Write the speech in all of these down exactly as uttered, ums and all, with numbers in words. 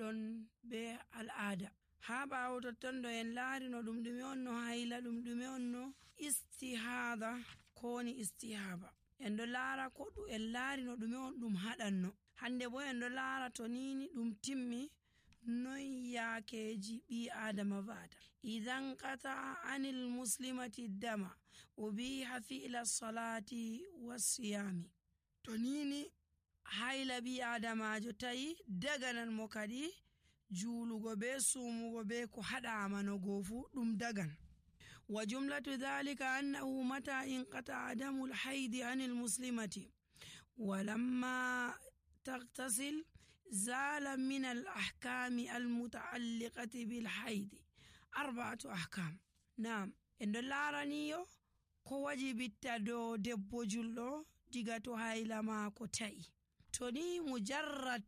ɗon be al'ada. Ha ɓawo totton ɗo en laari no ɗum ɗume on no hayla, ɗum ɗume on no istihada ko ni istihaba. En ɗo laara ko en laari no ɗume on ɗum haɗanno. Hande bo en ɗo laara to nini ɗum timmi non yaakeji ɓi adama va'ata. Idan qata anil muslimati dama ubiha fi'la salati wasiyami. To nini hayla ɓi adamajo tayi daganan mo kadi juulugo be sumugo be ko haɗama no gofu ɗum dagan. Wa jumlatu dhalika annahu mata inqata adamul haidi anil muslimati walamma تغتسل زال من الأحكام المتعلقة بالحيض أربعة أحكام. نعم إن لارانيو ko wajibitta do debbo julɗo diga to hayla maako ta'i. To ni mujarrad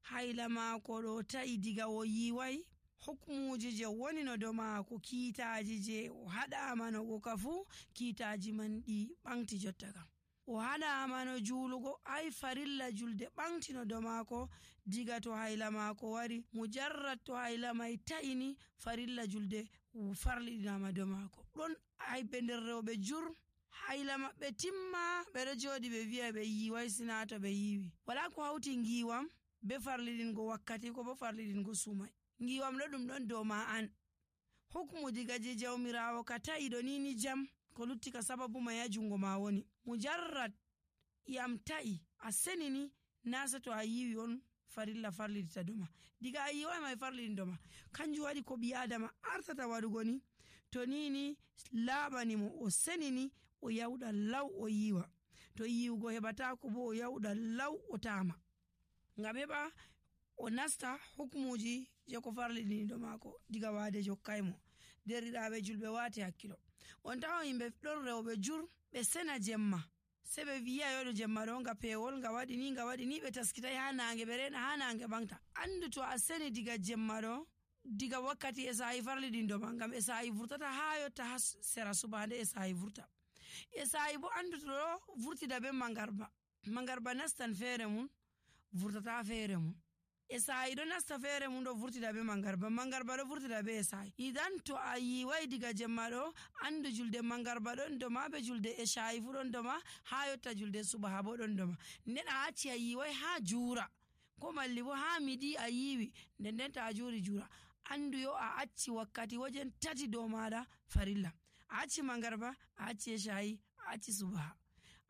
hayla maako ɗo ta'i diga o yiwai, hukmuji je woni no do maako, kiitaji je o haɗama no go kafu, kiitaji man ɗi ɓanti jotta kam. O haɗama no juulugo, ai farilla julde ɓantino do maako diga to hayla maako wari. Mujarrad to hayla mai ta'ini farilla julde farliɗinama do maako. Ɗon aybe nder rewɓe jur hayla maɓɓe timma ɓeɗo jooɗi ɓe wi'a ɓe yiwai sina to ɓe yiwi. Wala ko hawti ngiwam be farliɗingo wakkati ko bo farliɗingo sumai. Ngiwam ɗo ɗum ɗon dow ma an. Hukmu diga je jawmirawo ka ta'i ɗo nini jam ko lutti ka sababu mai ha jungo ma woni. Mujarrad yam ta'i a senini nasa to a yiwi on farilla farlidita doma, diga a yiwai mai farlidin doma. Kanjum waɗi ko ɓi adama artata waɗugo ni to nini laɓani mo o senini o yawɗa law o yiwa, to yiwugo heɓatako bo o yawɗa law o tama, ngam heɓa o nasta hukmuji je ko farliɗini do mako diga wade jokkaymo. Derɗiraɓe julɓe wati hakkilo. On tawa yimɓe ɗon rewɓe jur ɓe sena jemma se ɓe wiya yoɗo jemma ɗo nga pewol nga waɗi ni nga waɗi ni ɓe taskitai ha nange ɓe rena ha nange ɓangta. Andu to a seni diga jemma ɗo diga wakkati e sa'i farliɗin doma, ngam e sa'i vurtata ha yotta ha sera subande e sa'i vurta. E sa'i bo andu to ɗo vurtida be mangarba, mangarba nastan feere mun vurtata feere mun. E sa'i ɗo nasta feere mun ɗo vurtida be mangarba, mangarba ɗo vurtida be e sa'i. Idan to a yiwai diga jemma ɗo andu julde mangarba ɗon doma be julde e sa'i fu ɗon doma ha yotta julde subaha bo ɗon doma. Nden a acci a yiwai ha juura ko malli bo ha miɗi a yiwi nden nden ta a juri juura, andu yo a acci wakkati wajen tati dow maɗa farilla. A acci mangarba, a acci e sa'i, a acci subaha.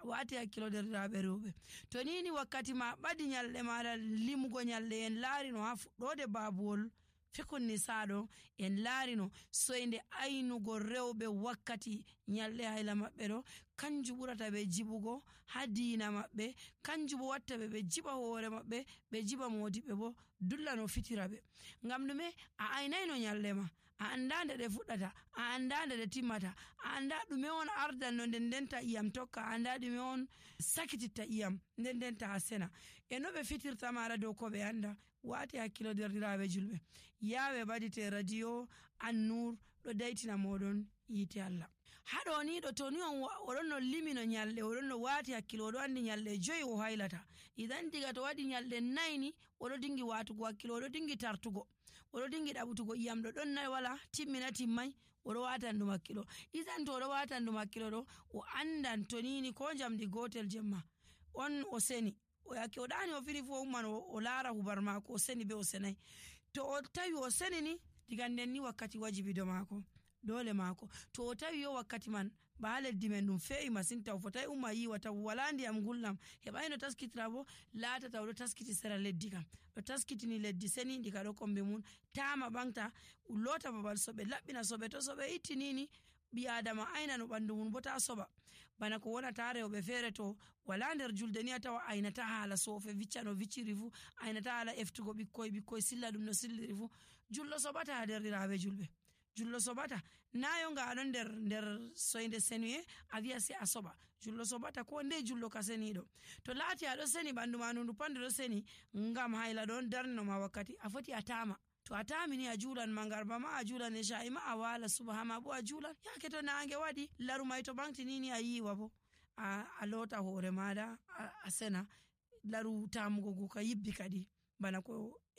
Wati hakkilo derɗiraɓe rewɓe. To nini wakkati ma ɓadi nyalɗe maɗa limugo nyalɗe en laarino ha fuɗɗode babuwol fikun nisaɗo en laarino soyde aynugo rewɓe wakkati nyalɗe hayla maɓɓe ɗo kanju ɓurata ɓe jiɓugo ha diina maɓɓe, kanju bo watta ɓe ɓe jiɓa hoore maɓɓe, ɓe jiɓa modiɓɓe bo dulla no fitira ɓe. Ngam ɗume? A aynayno nyalɗe ma, a anda nde ɗe fuɗɗata, a anda nde ɗe timmata, a anda ɗume on ardanno nden ndenta iyam tokka, a anda ɗume on sakititta iyam nden ndenta a sena. E no ɓe fitirta maɗa dow ko ɓe anda. Wati hakkilo derɗiraɓe julɓe, yawe badite radio An-Nur ɗo daitina moɗon yite Allah. Haɗo ni ɗo to ni on oɗon no limino nyalɗe, oɗon no wati hakkilo, oɗo andi nyalɗe joyi o haylata. Idan diga to waɗi nyalɗe nayni oɗo dingi watugo hakkilo, oɗo dingi tartugo, oɗo dingi ɗaɓutugo iyam ɗo ɗon nay wala timmina timmai, oɗo watan ɗum hakkilo. Idan to oɗo watan ɗum hakkilo ɗo o andan to nini ko jamdi gotel jemma on o seni o yake o ɗani o fini fu o umman o laara hubar mako o seni be o senai. To o tawi o seni ni diga nden ni wakkati wajibi do mako dole mako. To o tawi yo wakkati man ba ha leddi men ɗum fe'i masin taw fotai umma yiwa taw wala ndiyam gulɗam heɓai no taskitira bo laatata oɗo taskiti sera leddi kam ɗo taskitini leddi seni ndi ka ɗo kombe mun tama ɓangta lota babal soɓe laɓɓina soɓe, to soɓe itti nini ɓi adama ayna no ɓandu mun bo ta soɓa bana ko wonata rewɓe feere to wala nder julde ni a tawa aynata haala sofe vicca no vicciri fu, aynata haala eftugo ɓikkoy ɓikkoy silla ɗum no silliri fu. Jullo soɓata derɗiraɓe julɓe, jullo soɓata nayo nga aɗon nder nder soyde senuye a wiya se a soɓa, jullo soɓata ko nde jullo ka seniɗo. To laati aɗo seni ɓandu ma ndu pande ɗo seni ngam hayla ɗon darnino ma wakkati a foti a tama. To a tamini a juulan mangarba ma, a juulan e sha'i ma, a wala subaha ma bo a juulan. Yake to nange waɗi laru mai to ɓangtinini a yiwa bo a, a lota hoore maɗa a, a sena laru tamugo go ka yibbi kadi bana ko